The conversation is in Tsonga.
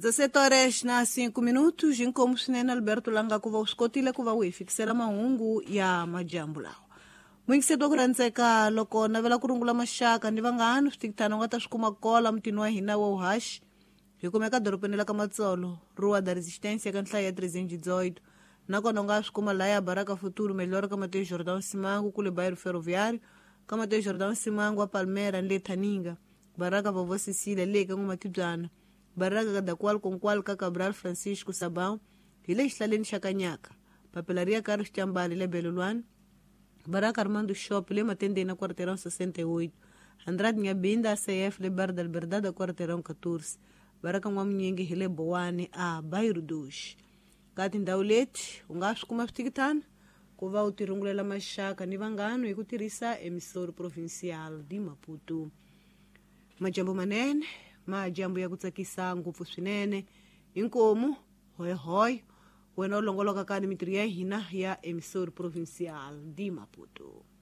17 horas na 5 minutos. Inkomu swinene Alberto Langa ku va u swi kotile ku va u hi fikisela mahungu ya majambu lawa. Muyingiseti wa ku rhandzeka, loko navela ku rungula maxaka ni vanghani, switikitana u nga ta swi kuma kola mutini wa hina wa uhaxi. Hi kumeka dorobeni la ka Matsolo, Rua da Resistência, ka nhlayo ya 318. Nakona u nga swi kuma laya Baraka Futuro Melhor ka Mateus Jordão Simango kule Bairro Ferroviário, ka Mateus Jordão Simango a Palmera ni le Thaninga, Baraka Vovó Cecília le ka N'wamatibyana, Baraka ka Dakwal Konkwal ka Cabral Francisco Sabão hi le xihlaleni xa Kanyaka, Papelaria Carlos Chambali le Belolwane, Baraka Armando Shop le Matendeni na Quarteirão 68, Andrade Nyabinda ACF le Bar da Liberdade Quarteirão 14, Baraka N'wamunyingi hi le Bowani a Bairro 2. Ka tindhawu leti u nga swi kuma switikitana ku va u tirungulela maxaka ni vanghano hi ku tirhisa Emissora Provincial de Maputo. Majambu manene, majambu ya ku tsakisa ngopfu swinene. Inkomu hoyhoy wena u longoloka ka ni mitirho ya hina ya Emissora Provincial de Maputo.